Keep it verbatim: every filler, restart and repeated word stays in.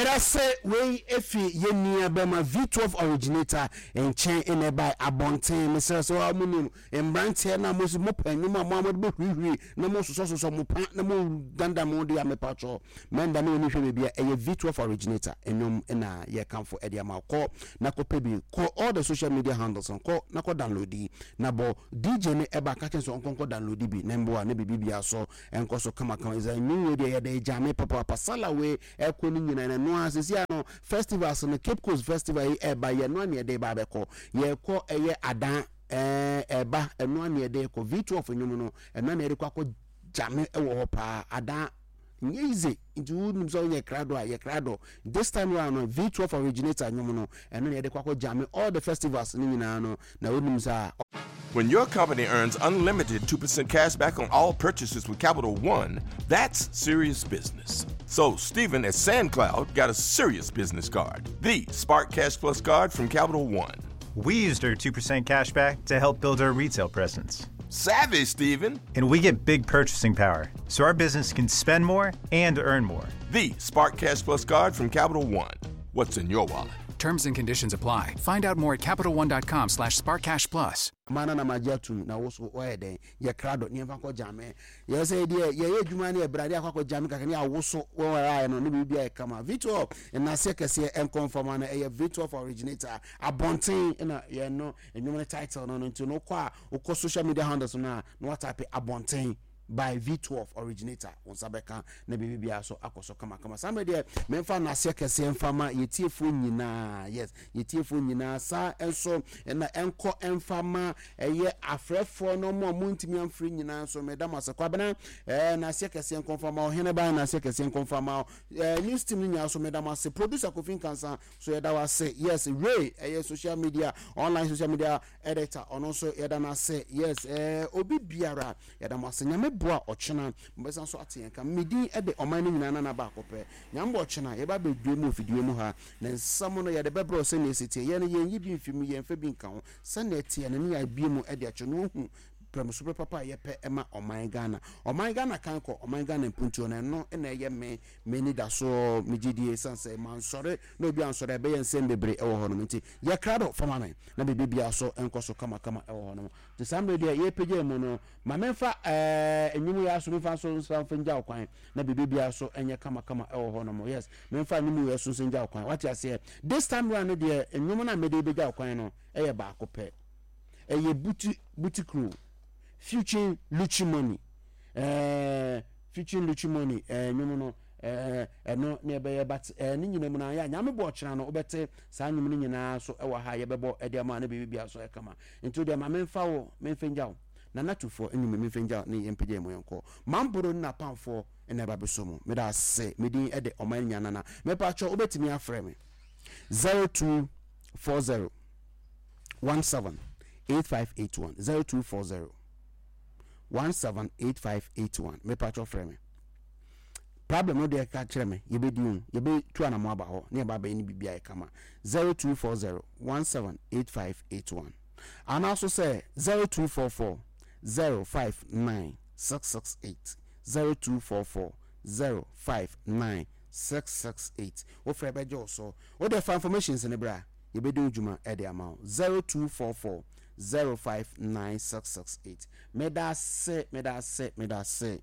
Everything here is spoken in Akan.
Ɛda sɛ wei efi yɛn nua bɛma V twelve Originator nkyɛn ɛna ɛba abɔnten. Mesrɛ sɛ wɔn mo nim mmeranteɛ na mo mo pɛ nnwom a mo a mo de bɛhurihuri na mo sosɔsosɔ mo pa na mo dandan mo de amepatwɔ mɛnda ne wɔn hwɛ baabi a ɛyɛ V twelve Originator nnwom ɛna yɛkamfo ɛde ama. Kɔ na kɔpɛ bi, kɔ all the social media handles, kɔ na kɔ download yi na bɔ. D J ne ɛba aka kyɛn sɛ ɔnkɔnkɔ download bi na mboa ne biribi bia so ɛnkɔ so kamakama. Ɛsɛ nnwom wei deɛ yɛde gyame papaapa sala wei ɛkɔ no nyinaa na ɛno a sisi ano festivals no, Cape Coast Festival yi ɛba yɛ no a, ne yɛde ba abɛkɔ yɛkɔ ɛyɛ adan ɛɛ ɛba ɛno a ne yɛde kɔ V twelve nnwom no, ɛno a ne yɛde kɔ akɔ gyame ɛwɔ hɔ paa. Adan nyɛ easy, nti wonim sɛ wonyɛ krado a yɛ krado. This time round no, V twelve Originator nnwom no, ɛno ne yɛde kɔ akɔ gyame all the festivals no nyinaa no na wonim sɛ When your company earns unlimited two percent cash back on all purchases with Capital One, that's serious business. So, Stephen at SandCloud got a serious business card, the Spark Cash Plus card from Capital One. We used our two percent cash back to help build our retail presence. Savvy, Stephen. And we get big purchasing power, so our business can spend more and earn more. The Spark Cash Plus card from Capital One. What's in your wallet? Terms and conditions apply. Find out more at Capital One dot com slash SparkCashPlus. Mana na magye atum na wo so wɔyɛ dɛn yɛ krado ne yɛmfa nkɔ gyame yɛ sɛ deɛ yɛyɛ adwuma ne yɛbrɛ ne akɔ akɔ gyame kakra ne awo so wɔn ayɛ no ne biribi ayɛ kama. V twelve nnaseɛ kɛseɛ ɛnkɔ mfama no, ɛyɛ V twelve Originator abɔnten ɛna yɛn no nnwom no title no no nti no, wokɔ a wokɔ social media handles no a na watype abɔnten by V twelve Originator, wo nsa bɛka na biribi biara so akɔ so kamakama. Saa mmerɛ deɛ memfa nnaseɛ kɛseɛ mfa ma yɛtiefoɔ nyinaa. Yes, yɛtiefoɔ nyinaa saa nso ɛna ɛnkɔ ɛmfa ma ɛyɛ afrɛfoɔ no mo a montumi amfiri nyinaa nso, meda mo ase. Kwabena, ɛɛ naseɛ kɛseɛ nkɔmfa ma ɔhene ban, naseɛ kɛseɛ nkɔmfa ma ɛɛ news team no nyinaa so, meda mo ase. Producer Kofi Nkansa so, yɛda wo ase. Yes, Ray, ɛyɛ social media, online social media editor, ɔno nso yɛda no ase. Yes, ɛɛ obi biara yɛda mo ase. Nyame boa, ɔkyena mbɛsan so ate yɛn ka. Medin ɛde ɔman no nyinaa nana baako pɛ. Nyame bɔ, ɔkyena yɛba bɛdue mu ofidie mu ha na nsɛm no yɛde bɛbrɛ sɛnea ɛsi teɛ. Yɛn no yɛnyi bi mfi mu, yɛmfa bi nka ho. Sɛnea ɛteɛ no ne yɛabie mu ɛde akyɛ no ohu prɛmso pɛ papa a yɛpɛ ɛma ɔman Ghana, ɔman Ghana kan kɔ ɔman Ghana mpuntuo no, ɛno ɛna ɛyɛ me m'ani da so megye die san sɛ mansɔre na obi ansɔre a ɛbɛyɛ nsɛm bebree ɛwɔ hɔ nom. Nti yɛkra do fama me na biribi biara so nkɔ so kamakama ɛwɔ hɔ nom. Nti saa mmerɛ deɛ yɛpagya mu no, ma memfa ɛɛ nnwom yɛ aso memfa nso nsa mfa ngya wo kwan na biribi biara so ɛnyɛ kamakama ɛwɔ hɔ nom. Yes, memfa nnwom yɛ so nso ngya wo kwan. Wate aseɛ? This time round no deɛ, nnwom no a mede bɛgya wo kwan no ɛyɛ baako pɛ. Ɛyɛ buti buti kuro featuring Luchi Money, ɛɛ featuring Luchi Money. ɛɛ nnwom no ɛɛ ɛno ne ɛbɛyɛ, but ɛɛ ne nyinaa mu no ayɛ a Nyame bɔ, ɔkyena no wobɛte saa nnwom no nyinaa so ɛwɔ ha. Yɛbɛbɔ ɛde ama ne biribi biara so ɛkama. Nti deɛ ma memfa wo memfa ngya wo nana tufoɔ nnwom memfa ngya wo ne yɛmpagya mu yɛnkɔ mamboro ne napamfoɔ ɛna ɛba bɛso mu. Meda ase. Medin ɛde ɔman nya nana. Mepatwɛ, wobɛtumi afrɛ me zero two four zero one seven eight five eight one, zero two four zero one seven eight five eight one. Mepatwɛ, frɛ me. Problem no deɛ, ka kyerɛ me, yɛbɛdi ho, yɛbɛtu anamo aba hɔ ne yɛba abɛyɛ ne biribi ayɛ kama. zero two four zero one seven eight five eight one anaaso sɛ zero two four four zero five nine six six eight, zero two four four zero five nine six six eight. Wofrɛ bɛgye wo so. Wode fa informations ne berɛ a yɛbɛdi wo dwuma ɛde ama wo. zero two four four zero five nine six six eight. Meda ase, meda ase, meda ase.